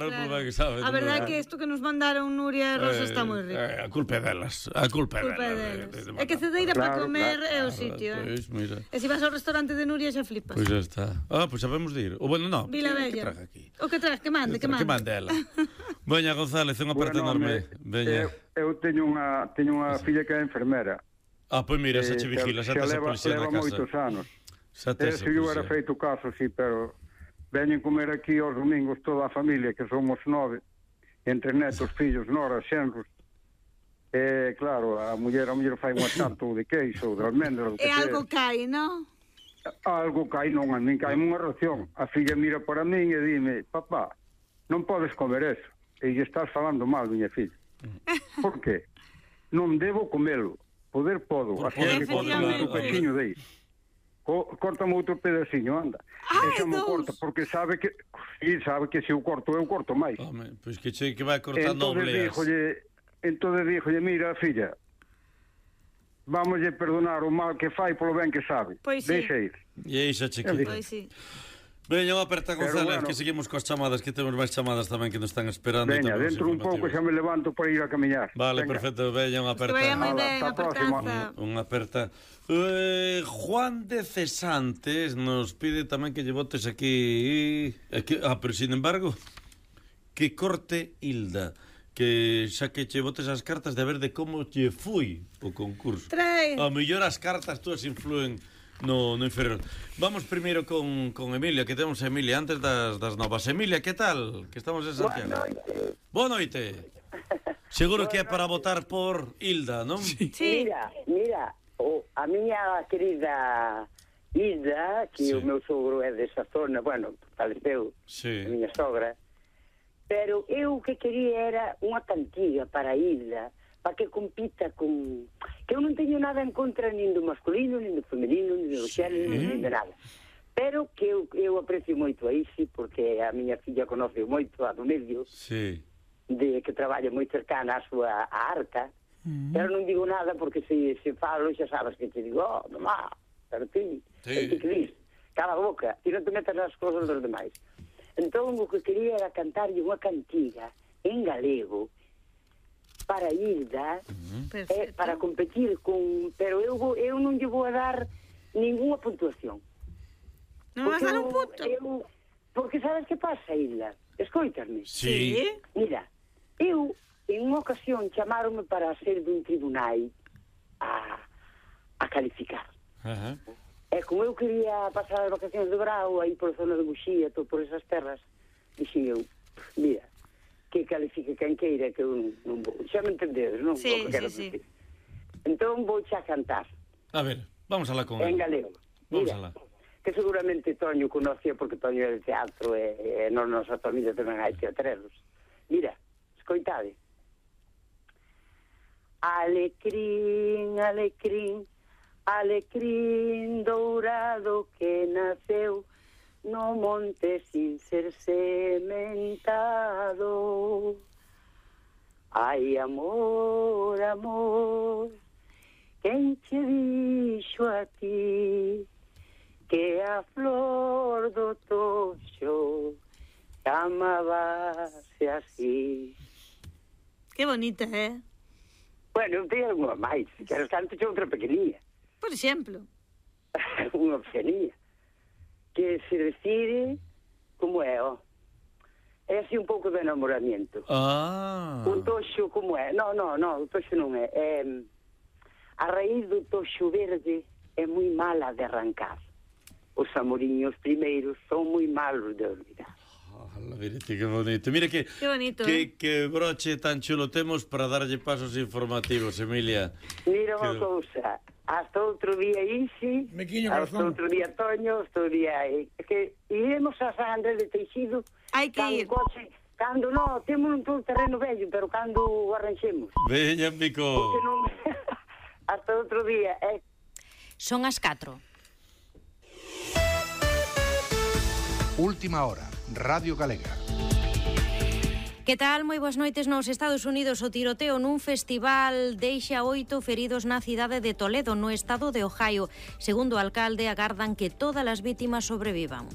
non polo ben que sabe. A verdade é que isto que nos mandaron Nuria e Rosa está moi rico. A culpa é delas. A culpa é delas. É que cedeira para comer é o sitio. Pois, mira. E se vas ao restaurante de Nuria xa flipas. Pois já está. Pois sabemos de ir. O bueno, non. Vila Bella. Que traga aquí? O que traes, que mande. Que mande ela. Veña, González, unha parte enorme. Veña. Eu teño unha filla que é enfermera. Pois mira, xa che vigila, xa tes a policía na casa. Leva moitos anos. Xa tes a Se eu era feito caso, sí, pero veñen comer aquí aos domingos toda a familia, que somos 9, entre netos, fillos, noras, xenros. E, claro, a muller fai unha tanto de queixo, de almendra, e algo cai, non? Algo cai, non, a min cai unha ración. A filla mira para min e dime, papá, non podes comer eso. E lle estás falando mal, miña filla. Por qué? Non debo comelo. Poder podo. Así que cortame outro pequeño de aí. Córtame outro pedaciño, anda. E xa me corta, porque sabe que se eu corto máis. Pois que che que vai cortando obleas. Entón díjolle, mira, filla, vámoslle perdonar o mal que fai polo ben que sabe. Deixa ir. E aí xa che quita. Pois sí. Veña, unha aperta, González, que seguimos coas chamadas, que temos máis chamadas tamén que nos están esperando. Veña, dentro un pouco xa me levanto para ir a camiñar. Vale, perfecto, veña, unha aperta. Que vaya moi ben, apertanza. Unha aperta. Juan de Cesantes nos pide tamén que lle botes aquí... pero sin embargo, que corte Hilda, que xa que che botes as cartas de ver de como lle fui o concurso. A mellor as cartas túas influen no inferior. Vamos primeiro con Emilia, que temos a Emilia antes das novas. Emilia, que tal? Que estamos en Santiago. Boa noite. Seguro que é para votar por Hilda, non? Sí. Mira, a miña querida Hilda, que o meu sogro é desa zona, bueno, faleceu, a miña sogra, pero eu o que quería era unha cantiga para Hilda, para que compita con... Que eu non teño nada en contra nin do masculino, nin do femenino, nin do xénero, nin de nada. Pero que eu aprecio moito a Isi, porque a miña filla conoce moito a do medio, de que traballa moi cercana a súa arca, pero non digo nada porque se falo xa sabes que te digo, mamá, pero ti, que dis, cala a boca, ti non te metas nas cosas dos demais. Entón, o que quería era cantarlle unha cantiga en galego para Hilda, para competir con... Pero eu non lle vou a dar ninguna puntuación. Non vas a dar un punto? Porque sabes que pasa, Hilda? Escoitasme? Sí. Mira, eu, en unha ocasión, chamaronme para ser dun tribunal a calificar. E como eu quería pasar as vacacións de Brao, aí por zona de Buxía, por esas terras, dixen eu, mira, que califique quen queira, que eu non vou. Xa me entendedes, non? Sí. Entón vou xa cantar. A ver, vamos alá con en galego. Mira, que seguramente Toño conocía porque Toño é de teatro e non nosa familia tamén hai teatreros. Mira, escoitade. Alecrín, alecrín, alecrín dourado que naceu no monte sin ser sementado. Ai, amor, amor, quen che dixo a ti que a flor do toxo chamábase así? Que bonita, Bueno, eu teño unha máis, que era tanto che outra pequenilla. Por exemplo. Unha pequenilla. Que se refire como é, é así un pouco de enamoramiento. O toxo como é? No, o toxo non é. A raíz do toxo verde é moi mala de arrancar. Os amoriños primeiros son moi malos de olvidar. Virite, que bonito. Mira que broche tan chulo temos para darlle pasos informativos, Emilia. Mira unha cousa. Hasta outro día Isi, hasta outro día Toño, outro día... que iremos a San Andrés de Teixido. Hai que ir. Cando non, temos un terreno vello, pero cando o arranxemos. Veña, Mico. Hasta outro día. Son as 4. Última hora, Radio Galega. Que tal? Moi boas noites. Nos Estados Unidos, o tiroteo nun festival deixa 8 feridos na cidade de Toledo, no estado de Ohio. Segundo o alcalde, agardan que todas as vítimas sobrevivan.